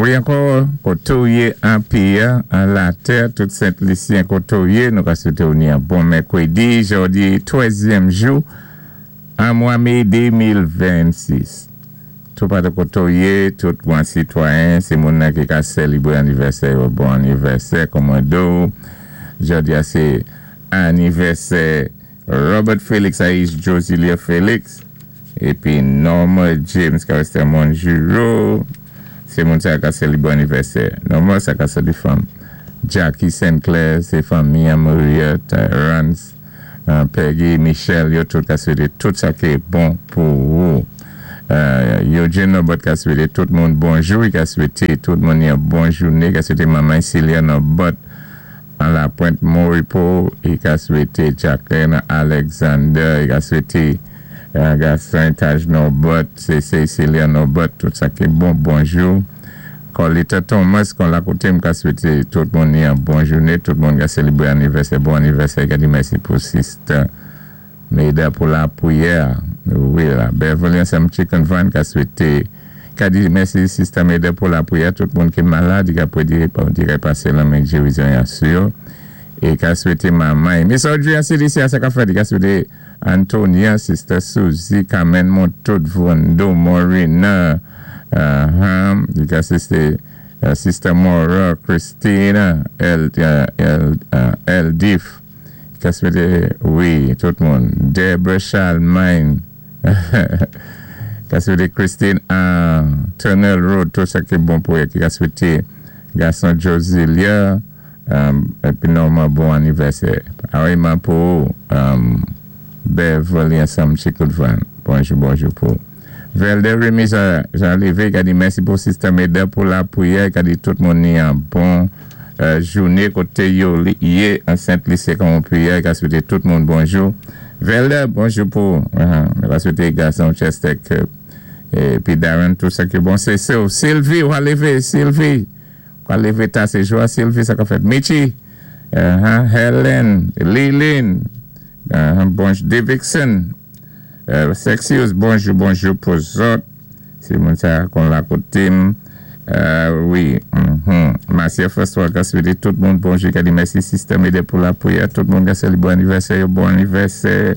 Wi ankò, koté-w yé an péyi-a, an latè, tout Sent Lisyen koté-w yé, nou ka swété-w ni an bon mèkwédi, jòdi twèzyèm jou an mwa mé 2026. Toupatou koté-w yé, tout gwan sitwayen, sé moun nan ki ka sèlibré anivèsè yo, bon anivèsè, kòman do, jòdi-a sé anivèsè Robert Félix Aïs Josilia Félix, épi Norma James Carester Monjuro, sé moun sa ka sèlibré anivèsè. Norma sa ka sé fanm. Jackie Sinclair, sé fanmi Maria Tyrance, Peggy Michel, yo tout ka swété tout sa ki bon pou ou. Eugene Norbert ka swété tout moun bonjou, i ka swété tout moun yon bon jouné, ka swété manman Celia Norbert an la Pointe Moripo, i ka swété Jacqueline Alexander, i ka swété Gaston Taj Norbert, c'est Celia Norbert, tout sa ki bon, bonjou. Colita Thomas, kon la koté, m ka swété tout moun yon bon jouné, tout moun ka sèlibré anivèsè, bon anivèsè, ka di mèsi pou sister Meda pou lapriyè. Wi la, Beverly ansanm Chicken Van ka swété, ka di mèsi sister Meda pou lapriyè, tout moun ki malad, ka pwé dirè pasé lanmen gérizon ya sou yo, é ka swété manman. Miss Audrey an CDC a sa ka fèt, ka swété Antonia, sister Suzy, Carmen Montout, Vondo, Morina, ka swété sister Maura, Christina, El, El, Eldif, ka swété, wi, tout moun, Deborah Charlemagne, ka swété Christine Tunnel Road, tout sa ki bon pou ki ka swété gason Josilia, épi Norma bon anivèsè. Awiman pou Beverly ansanm Chicken Van. Bonjou, bonjou pou. Velde Remy Jean Lévé, ka di mèsi pou sister Meda pou lapriyè, ka di tout moun ni an bon jouné koté yo yé an Sent-Lisi kon priyè, ka swété tout moun bonjou. Velde, bonjou pou, ka swété gason Chester épi Darren, tout sa ki bon. Sé Sylvie, ou lévé, Sylvie. Ou lévé ta, sé jwa Sylvie, sa ka fèt. Michi, Helen, Lilin, bonjou, Davidson, Sexius, bonjou, bonjou pou zòt. Sé moun sa kon la koté. Wi, Marcia François ka swété tout moun bonjou, ka di mèsi sister Meda pou lapriyè, tout moun ka sèlibré anivèsè, bon anivèsè,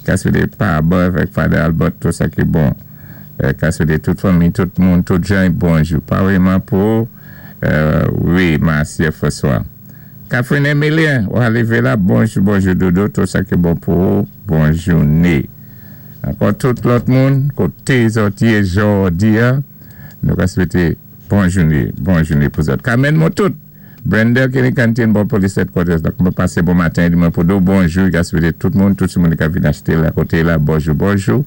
ka swété Paba avèk Father Albert, tout sa ki bon. Ka swété tout fanmi, tout moun, tout jan, bonjou. Pareillement pou, wi, Marcia François. Catherine Emilien, ou lévé la, bonjou, bonjou Dodo, tout sa ki bon pou ou, bon jouné. Ankò tout lòt moun, koté zòt yé jòdi-a, nou ka swété bon jouné, bon jouné pou zòt. Carmen Motout, Brenda Kenny Canteen, bon police headquarters, donk mwen pasé bon maten, di mwen pou do bonjou, ka swété tout moun, tout moun ki vin achté la koté la, bonjou, bonjou.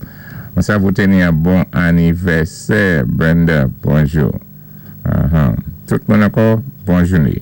Mwen sa vou teni an bon anivèsè, Brenda, bonjou. Tout moun ankò, bon jouné.